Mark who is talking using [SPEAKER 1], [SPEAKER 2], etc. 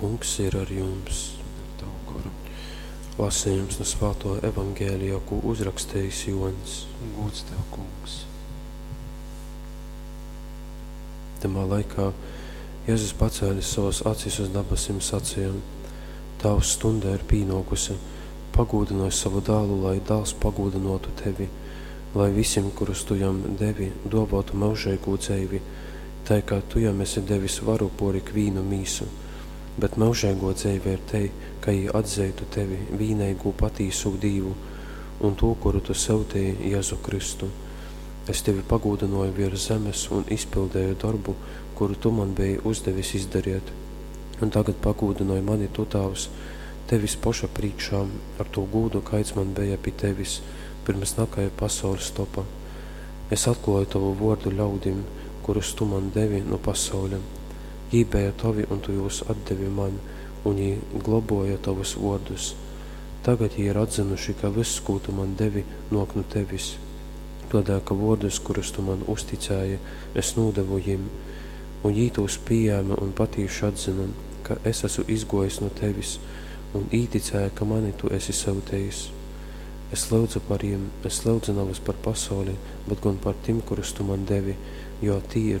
[SPEAKER 1] Kungs ir ar jums.
[SPEAKER 2] Un ar tavu goru.
[SPEAKER 1] Lasījums no Svāto Evangēlija, ko uzrakstījis Joņs.
[SPEAKER 2] Gods tev, Kungs.
[SPEAKER 1] Tamā laikā Jēzus pacēlis savas acis uz dabasim sacīja: Tavs stunda ir pīnākusi, pagūdināj savu dēlu, lai dēls pagūdinotu tevi, lai visiem, kurus tu jam devi, dāvātu mūžīgu dzīvi, tai kā tu jam esi devis varu por ikvīnu mīsu. Bet mūžīgo dzīve ir te, ka jī atzeitu tevi, vīneigu patīsu Dīvu, un to, kuru tu sūtīji, Jēzu Kristu. Es tevi pagūdināju virs zemes un izpildīju darbu, kuru tu man biji uzdevis izdarīt. Un tagad pagūdināj mani tu, Tēvs, tevis poša priekšā ar to gūdu, kaids man bija pie tevis, pirms nakaja pasaules topa. Es atklāju tavu vārdu ļaudim, kurus tu man devi no pasaules. Jī bija tavi, un tu jūs atdevi man, un jī globoja tavus vārdus. Tagad jī ir atzinuši, ka viss, ko tu man devi, nāk no tevis. Tādēļ, ka vārdus, kurus tu man uzticēji, es nodevu jim, un jī tos pieņēma un patīši atzina, ka es esmu izgojis no tevis, un īticēja, ka mani tu esi sūtījis. Es lūdzu par jiem, es lūdzu nevis par pasauli, bet gan par tiem, kurus tu man devi, jo tī ir.